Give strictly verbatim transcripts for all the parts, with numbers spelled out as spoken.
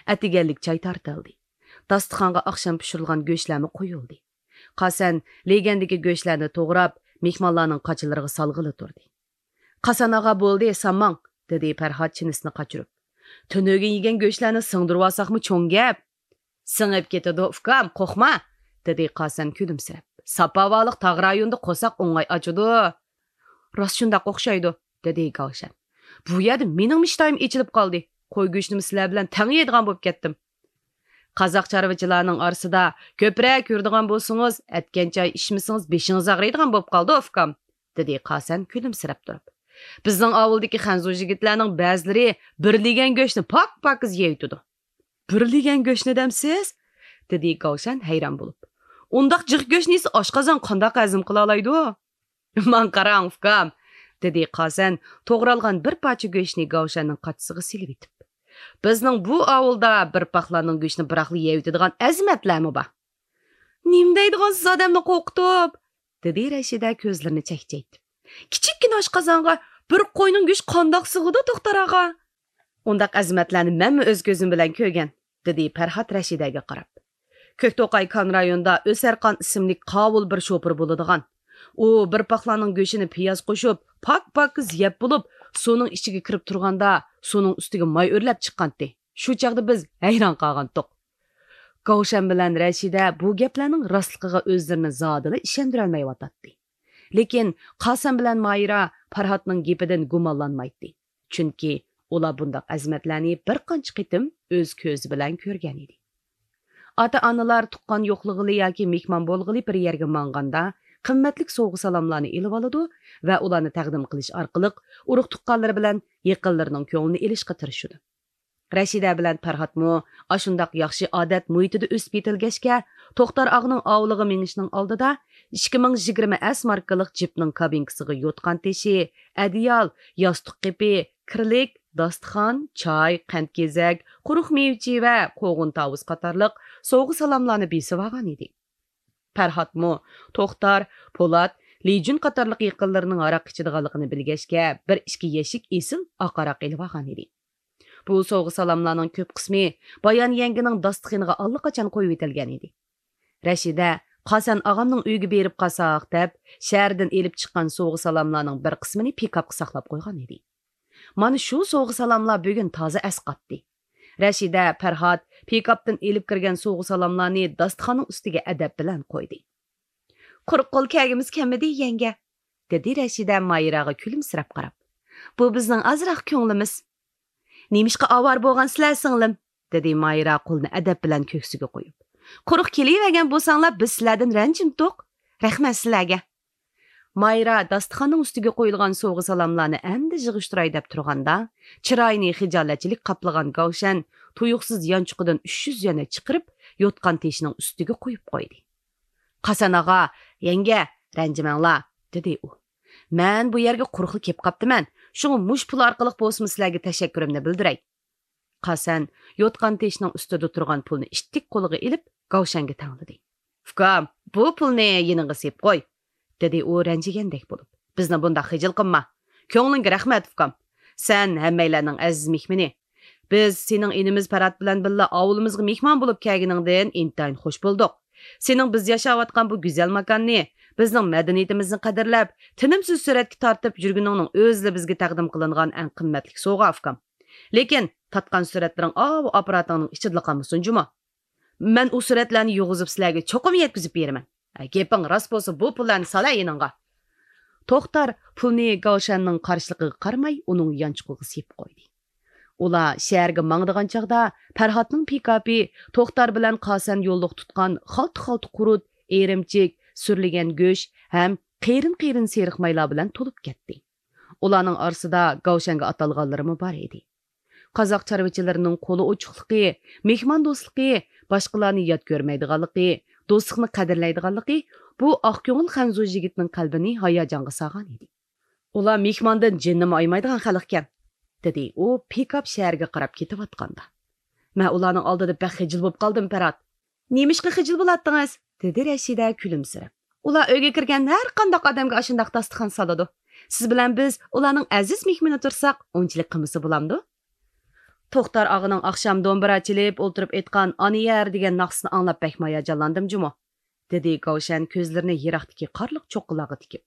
ئەتىگەنلىك چاي تارتىلدى. داستىخانغا ئاخشام پىشۇرۇلغان گۆشلەرمۇ قويۇلدى. قاسەن لېگەندىكى گۆشلەرنى توغراپ، مېھمانلارنىڭ قاچىلىرىغا سالغىلى تۇردى. «قاسەن ئاغا، بولدى، سالماڭ!» دېدى پەرھات چىنىسىنى قاچۇرۇپ. «تۈنۈگۈن يېگەن گۆشلەرنى سىڭدۈرۈۋالساقمۇ چوڭ گەپ.» «سىڭىپ كېتىدۇ، ئۇكام، قورقما!» دېدى قاسەن كۈلۈمسىرەپ. «ساپاۋالىق تاغ رايونىدا قورساق ئوڭاي ئاچىدۇ.» «راست شۇنداق ئوخشايدۇ.» دېدى گاۋشەن. «بۇ يەردە مېنىڭمۇ ئىشتىھام ئېچىلىپ قالدى. قوي گۆشىنىمۇ سىلەر بىلەن تەڭ يەيدىغان بولۇپ كەتتىم.» «قازاق چارۋىچىلارنىڭ ئارىسىدا كۆپرەك يۈرىدىغان بولسىڭىز، ئەتكەن چاي ئىچمىسىڭىز بېشىڭىز ئاغرىيدىغان بولۇپ قالىدۇ، ئۇكام.» دېدى قاسەن كۈلۈمسىرەپ تۇرۇپ. «بىزنىڭ ئاۋۇلدىكى خەنزۇ يىگىتلەرنىڭ بەزىلىرى بىر لېگەن گۆشنى پاك-پاكىز يەيتىدۇ.» «بىر لېگەن گۆشنى دەمسىز؟» دېدى گاۋشەن ھەيران بولۇپ. «ئۇنداق جىق گۆشنى يېسە ئاشقازان قانداق ھەزىم قىلالايدۇ؟» «ماڭا قاراڭ، ئۇكام!» دېدى قاسەن توغرالغان بىر پارچە گۆشنى گاۋشەننىڭ قاچىسىغا سېلىۋېتىپ. «بىزنىڭ بۇ ئاۋۇلدا بىر پاقلارنىڭ گۆشىنى بىراقلا يەۋېتىدىغان ئەزىمەتلەرمۇ بار.» «نېمە دەيدىغانسىز ئادەمنى قورقۇتۇپ؟» دېدى رەشىدە كۆزلىرىنى چەكچەيتىپ. «كىچىككىنە ئاشقازانغا بىر قوينىڭ گۆشى قانداق سىغىدۇ، توختار ئاغا؟» «ئۇنداق ئەزىمەتلەرنى مەنمۇ ئۆز كۆزۈم بىلەن كۆرگەن.» دېدى پەرھات رەشىدەگە قاراپ. «كۆكتوقاي كان رايونىدا ئۆسەرخان ئىسىملىك قاۋۇل بىر شوپۇر بولىدىغان. ئۇ بىر پاقلارنىڭ گۆشىنى پىياز قوشۇپ، پاك-پاكىز يەپ بولۇپ، سۇنىڭ ئىچىگە كىرىپ تۇرغاندا، سۇنىڭ ئۈستىگە ماي ئۆرلەپ چىققانتى. شۇ چاغدا بىز ھەيران قالغانتۇق.» گاۋشەن بىلەن رەشىدە بۇ گەپلەرنىڭ راستلىقىغا ئۆزلىرىنى زادىلا ئىشەندۈرەلمەيۋاتاتتى. لېكىن قاسەم بىلەن مايرا پەرھاتنىڭ گېپىدىن گۇمانلانمايتتى. چۈنكى ئۇلار بۇنداق ئەزىمەتلەرنى بىر قانچە قېتىم ئۆز كۆزى بىلەن كۆرگەنىدى. ئاتا-ئانىلار تۇغقان يوقلىغىلى ياكى مېھمان بولغىلى بىر يەرگە ماڭغاندا، قىممەتلىك سوۋغا-سالاملارنى ئېلىۋالىدۇ ۋە ئۇلارنى تەقدىم قىلىش ئارقىلىق ئۇرۇق-تۇغقانلىرى بىلەن يېقىنلىرىنىڭ كۆڭلىنى ئېلىشقا تىرىشىدۇ. رەشىدە بىلەن پەرھاتمۇ ئاشۇنداق ياخشى ئادەت مۇھىتىدا ئۆسۈپ يېتىلگەچكە، توختار ئاغىنىڭ ئاۋۇلىغا مېڭىشنىڭ ئالدىدا ئىككى مىڭ يىگىرمە ئەس ماركىلىق جىپنىڭ كابىنكىسىغا يوتقان تېشى، ئەدىيال، ياستۇق قېپى، كىرلىك، داستىخان، چاي، قەنت-گېزەك، قۇرۇق مېۋە-چىۋە، قوغۇن-تاۋۇز قاتارلىق سوۋغا-سالاملارنى بېسىۋالغان ئىدى. پەرھاتمۇ توختار، پولات، لىجۈن قاتارلىق يېقىنلىرىنىڭ ھاراق ئىچىدىغانلىقىنى بىلگەچكە، بىر ئىككى يەشىك ئېسىل ئاق ھاراق ئېلىۋالغان ئىدى. بۇ سوۋغا-سالاملارنىڭ كۆپ قىسمى بايان يەڭگىنىڭ داستىخىنىغا ئاللىقاچان قويۇۋېتىلگەن ئىدى. رەشىدە، «قاسەن ئاغامنىڭ ئۆيىگە بېرىپ قالساق» دەپ، شەھەردىن ئېلىپ چىققان سوۋغا-سالاملارنىڭ بىر قىسمىنى پىكاپقا ساقلاپ قويغان ئىدى. مانا شۇ سوۋغا-سالاملار بۈگۈن تازا ئەسقاتتى. رەشىدە، پەرھات پىكاپتىن ئېلىپ كىرگەن سوۋغا-سالاملارنى داستىخاننىڭ ئۈستىگە ئەدەپ بىلەن قويدى. «قۇرۇق قول كەلگۈمىز كەلمىدى، يەڭگە»، دېدى رەشىدە مايراغا كۈلۈمسىرەپ قاراپ. «بۇ بىزنىڭ ئازراق كۆڭلىمىز.» «نېمىشقا ئاۋارە بولغانسىلەر، سىڭلىم؟» دېدى مايرا قولىنى ئەدەپ بىلەن كۆكسىگە قويۇپ. «قۇرۇق كېلىۋەرگەن بولساڭلار، بىز سىلەردىن رەنجىمىدۇق. رەھمەت سىلەرگە.» مايرا داستىخاننىڭ ئۈستىگە قويۇلغان سوۋغا-سالاملارنى ئەمدى يىغىشتۇراي دەپ تۇرغاندا، چىرايىنى خىجالەتچىلىك قاپلىغان گاۋشەن تۇيۇقسىز يانچۇقىدىن ئۈچ يۈز يۈەننى چىقىرىپ، يوتقان تېشىنىڭ ئۈستىگە قويۇپ قويدى. «قاسەن ئاغا، يەڭگە، رەنجىمەڭلار»، دېدى ئۇ. «مەن بۇ يەرگە قۇرۇقلا كېلىپ قاپتىمەن، شۇڭا مۇشۇ پۇل ئارقىلىق بولسىمۇ سىلەرگە تەشەككۈرۈمنى بىلدۈرەي.» قاسەن يوتقان تېشىنىڭ ئۈستىدە تۇرغان پۇلنى ئىتتىك قولىغا ئېلىپ، گاۋشەنگە تەڭلىدى. «ئۇكام، بۇ پۇلنى يېنىڭغا سېلىپ قوي.» دېدى ئۇ رەنجىگەندەك بولۇپ. «بىزنى بۇنداق خىجىل قىلما. كۆڭلۈڭگە رەھمەت، ئۇكام. سەن ھەممەيلەننىڭ ئەزىز مېھمىنى. بىز سېنىڭ ئىنىمىز پەرھات بىلەن بىللە ئاۋۇلىمىزغا مېھمان بولۇپ كەلگىنىڭدىن ئىنتايىن خۇش بولدۇق. سېنىڭ بىز ياشاۋاتقان بۇ گۈزەل ماكاننى، بىزنىڭ مەدەنىيىتىمىزنى قەدىرلەپ، تىنىمسىز سۈرەتكە تارتىپ يۈرگىنىڭنىڭ ئۆزىلا بىزگە تەقدىم قىلىنغان ئەڭ قىممەتلىك سوۋغا، ئۇكام. لېكىن تارتقان سۈرەتلىرىڭ ئاۋۇ ئاپپاراتىڭنىڭ ئىچىدىلا قالمىسۇن جۇمۇ. مەن ئۇ سۈرەتلەرنى يۇغۇزۇپ سىلەرگە چوقۇم يەتكۈزۈپ بېرىمەن. ھە، گېپىڭ راست بولسا، بۇ پۇللارنى سالا يېنىڭغا.» توختار پۇلنى گاۋشەننىڭ قارشىلىقىغا قارىماي، ئۇنىڭ يانچۇقىغا سېلىپ قويدى. ئۇلار شەھەرگە ماڭىدىغان چاغدا، پەرھاتنىڭ پىكاپى توختار بىلەن قاسەن يوللۇق تۇتقان خالتا-خالتا قۇرۇت، ئېرىمچىك، سۈرلىگەن گۆش ھەم قېرىن-قېرىن سېرىق مايلار بىلەن تولۇپ كەتتى. ئۇلارنىڭ ئارىسىدا گاۋشەنگە ئاتالغانلىرىمۇ بار ئىدى. قازاق چارۋىچىلىرىنىڭ قولى ئوچۇقلۇقى، مېھماندوستلۇقى، باشقىلارنى يات كۆرمەيدىغانلىقى، دوستلۇقنى قەدىرلەيدىغانلىقى بۇ ئاقكۆڭۈل خەنزۇ يىگىتنىڭ قەلبىنى ھاياجانغا سالغان ئىدى. «ئۇلار مېھماندىن جىننىمۇ ئايىمايدىغان خەلقكەن»، دېدى ئۇ پىكاپ شەھەرگە قاراپ كېتىۋاتقاندا. «مەن ئۇلارنىڭ ئالدىدا بەك خىجىل بولۇپ قالدىم، پەرھات.» «نېمىشقا خىجىل بولاتتىڭىز؟» دېدى رەشىدە كۈلۈمسىرەپ. «ئۇلار ئۆيگە كىرگەن ھەر قانداق ئادەمگە ئاشۇنداق داستىخان سالىدۇ. سىز بىلەن بىز ئۇلارنىڭ ئەزىز مېھمىنى تۇرساق، ئۇنچىلىك قىلمىسا بولامدۇ؟» توختار ئاغىنىڭ ئاخشام دومبىرا چېلىپ ئولتۇرۇپ ئېيتقان ئانا يەر دېگەن ناخشىسىنى ئاڭلاپ بەكمۇ ھاياجانلاندىم جۇمۇ، دېدى گاۋشەن كۆزلىرىنى يىراقتىكى قارلىق چوققىلارغا تىكىپ.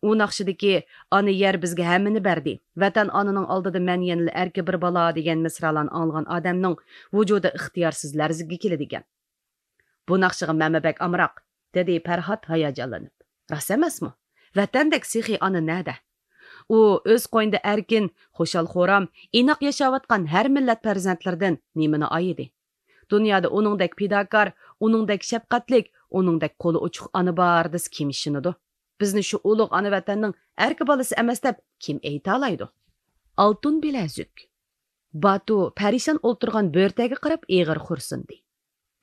ئۇ ناخشىدىكى «ئانا يەر بىزگە ھەممىنى بەردى، ۋەتەن ئانىنىڭ ئالدىدا مەن يەنىلا ئەركە بىر بالا» دېگەن مىسرالارنى ئاڭلىغان ئادەمنىڭ ۋۇجۇدى ئىختىيارسىز لەرزىگە كېلىدىكەن. «بۇ ناخشىغا مەنمۇ بەك ئامراق»، دېدى پەرھات ھاياجانلىنىپ. «راست ئەمەسمۇ؟ ۋەتەندەك سېخىي ئانا نەدە؟ ئۇ ئۆز قوينىدا ئەركىن، خۇشال-خۇرام، ئىناق ياشاۋاتقان ھەر مىللەت پەرزەنتلىرىدىن نېمىنى ئايىدى؟ دۇنيادا ئۇنىڭدەك پىداكار، ئۇنىڭدەك شەپقەتلىك، ئۇنىڭدەك قولى ئوچۇق ئانا بار دېسە كىم ئىشىنىدۇ؟ بىزنى شۇ ئۇلۇغ ئانا ۋەتەننىڭ ئەركە بالىسى ئەمەس دەپ كىم ئېيتالايدۇ؟» ئالتۇن بىلەزۈك. باتۇ پەرىشان ئولتۇرغان بۆرتەگە قاراپ ئېغىر خورسۇندى.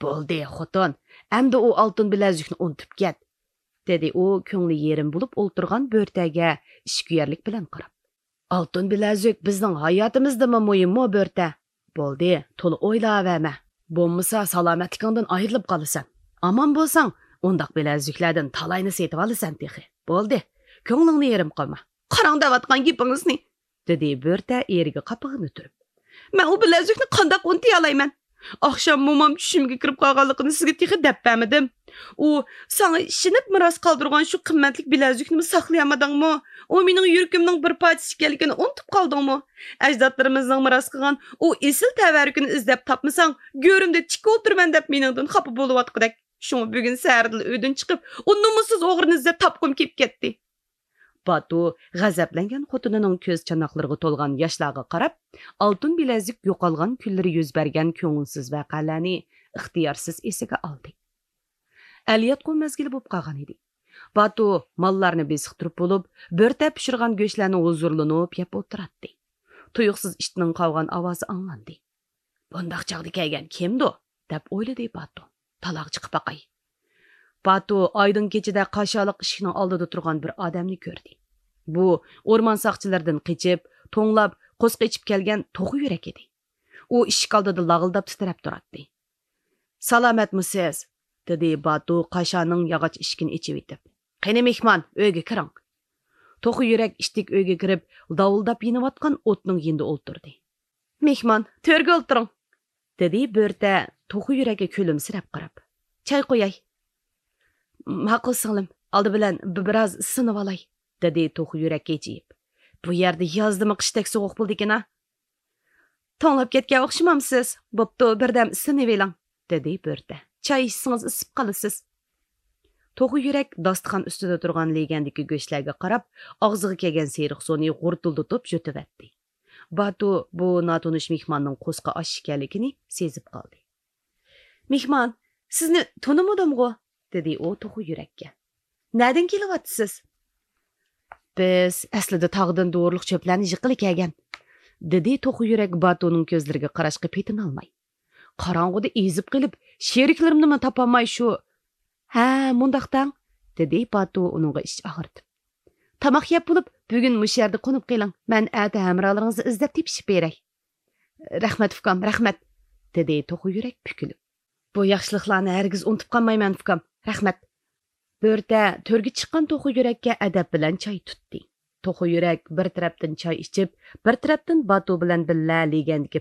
«بولدى، خوتۇن، ئەمدى ئۇ ئالتۇن بىلەزۈكنى ئۇنتۇپ كەت»، دېدى ئۇ كۆڭلى يېرىم بولۇپ ئولتۇرغان بۆرتەگە ئىچكۈيەرلىك بىلەن قاراپ. «ئالتۇن بىلەزۈك بىزنىڭ ھاياتىمىزدىنمۇ مۇھىممۇ، بۆرتە؟ بولدى، تولا ئويلاۋەرمە. بولمىسا سالامەتلىكىڭدىن ئايرىلىپ قالىسەن. ئامان بولساڭ، ئۇنداق بىلەزۈكلەردىن تالاينى سېتىۋالىسەن تېخى. بولدى، كۆڭلۈڭنى يېرىم قىلما.» «قاراڭ دەۋاتقان گېپىڭىزنى!» دېدى بۆرتە ئېرىگە قاپىقىنى تۈرۈپ. «مەن ئۇ بىلەزۈكنى قانداق ئۇنتۇيالايمەن؟ ئاخشام مومام چۈشۈمگە كىرىپ قالغانلىقىنى سىزگە تېخى دەپ بەرمىدىم. ئۇ ساڭا ئىشىنىپ مىراس قالدۇرغان شۇ قىممەتلىك بىلەزۈكنىمۇ ساقلىيالمىدىڭمۇ؟ ئۇ مېنىڭ يۈرىكىمنىڭ بىر پارچىسى ئىكەنلىكىنى ئۇنتۇپ قالدىڭمۇ؟ ئەجدادلىرىمىزنىڭ مىراس قىلغان ئۇ ئېسىل تەۋەررۈكىنى ئىزدەپ تاپمىساڭ، گۆرۈمدە تىك ئولتۇرىمەن دەپ مېنىڭدىن خاپا بولۇۋاتقۇدەك. شۇڭا بۈگۈن سەھەردىلا ئۆيدىن چىقىپ، ئۇ نومۇسسىز ئوغرىنى ئىزدەپ تاپقۇم كېلىپ كەتتى.» باتۇ غەزەپلەنگەن خوتۇنىنىڭ كۆز چاناقلىرىغا تولغان ياشلارغا قاراپ، ئالتۇن بىلەزۈك يوقالغان كۈنلىرى يۈز بەرگەن كۆڭۈلسىز ۋەقەلەرنى ئىختىيارسىز ئېسىگە ئالدى. ئەلياتقۇ مەزگىلى بولۇپ قالغان ئىدى. باتۇ ماللارنى بېسىقتۇرۇپ بولۇپ، بۆرتە پىشۇرغان گۆشلەرنى ھۇزۇرلىنىپ يەپ ئولتۇراتتى. تۇيۇقسىز ئىتنىڭ قاۋىغان ئاۋازى ئاڭلاندى. «بۇنداق چاغدا كەلگەن كىمدۇ؟» دەپ ئويلىدى باتۇ. «تالاغا چىقىپ باقاي.» باتۇ ئايدىڭ كېچىدە قاشالىق ئىشىكنىڭ ئالدىدا تۇرغان بىر ئادەمنى كۆردى. بۇ ئورمان ساقچىلىرىدىن قېچىپ، توڭلاپ، قورسىقى ئېچىپ كەلگەن توخۇ يۈرەك ئىدى. ئۇ ئىشىك ئالدىدا لاغىلداپ تىترەپ تۇراتتى. «سالامەتمۇسىز؟» دېدى باتۇ قاشانىڭ ياغاچ ئىشىكىنى ئېچىۋېتىپ. «قېنى مېھمان، ئۆيگە كىرىڭ.» توخۇ يۈرەك ئىتتىك ئۆيگە كىرىپ، داۋۇلداپ يېنىۋاتقان ئوتنىڭ يېنىدا ئولتۇردى. «مېھمان، تۆرگە ئولتۇرۇڭ.» دېدى بۆرتە توخۇ يۈرەككە كۈلۈمسىرەپ قاراپ. «چاي قۇياي.» «ماقۇل سىڭلىم، ئالدى بىلەن بىر، بىراز سىنىۋالاي.» دېدى توخۇ يۈرەك ھىجىيىپ. «بۇ يەردە يازدىمۇ قىشتەك سوغۇق بولىدىكىنا.» «توڭلاپ كەتكەن ئوخشىمامسىز؟ بوپتۇ، بىردەم سىنىۋېلىڭ.» دېدى بۆرتە. «چاي ئىچسىڭىز ئىسسىپ قالىسىز.» توخۇ يۈرەك داستىخان ئۈستىدە تۇرغان لېگەندىكى گۆشلەرگە قاراپ، ئاغزىغا كەلگەن سېرىق سۇنى غۇرتۇلدىتىپ يۇتۇۋەتتى. باتۇ بۇ ناتونۇش مېھماننىڭ قورسىقى ئاچ ئىكەنلىكىنى سېزىپ قالدى. «مېھمان، سىزنى تونۇمىدىمغۇ؟» دېدى ئۇ توخۇ يۈرەككە. «نەدىن كېلىۋاتىسىز؟» «بىز ئەسلىدە تاغدىن دورىلىق چۆپلەرنى يىغقىلى كەلگەن»، دېدى توخۇ يۈرەك باتۇنىڭ كۆزلىرىگە قاراشقا پېتىنالماي. «قاراڭغۇدا ئېزىپ قېلىپ، شېرىكلىرىمنىمۇ تاپالماي شۇ...» «ھە، مۇنداق دەڭ»، دېدى باتۇ ئۇنىڭغا ئىچ ئاغرىتىپ. «تاماق يەپ بولۇپ، بۈگۈن مۇشۇ يەردە قونۇپ قېلىڭ، مەن ئەتە ھەمراھلىرىڭىزنى ئىزدەپ تېپىشىپ بېرەي.» «رەھمەت، ئۇكام، رەھمەت»، دېدى توخۇ يۈرەك پۈكۈلۈپ. «بۇ ياخشىلىقلارنى ھەرگىز ئۇنتۇپ قالمايمەن، ئۇكام، رەھمەت.» بۆرتە تۆرگە چىققان توخۇ يۈرەككە ئەدەپ بىلەن چاي تۇتتى. توخۇ يۈرەك بىر تەرەپتىن چاي ئىچىپ، بىر تەرەپتىن باتۇ بىلەن بىللە لېگەندىكى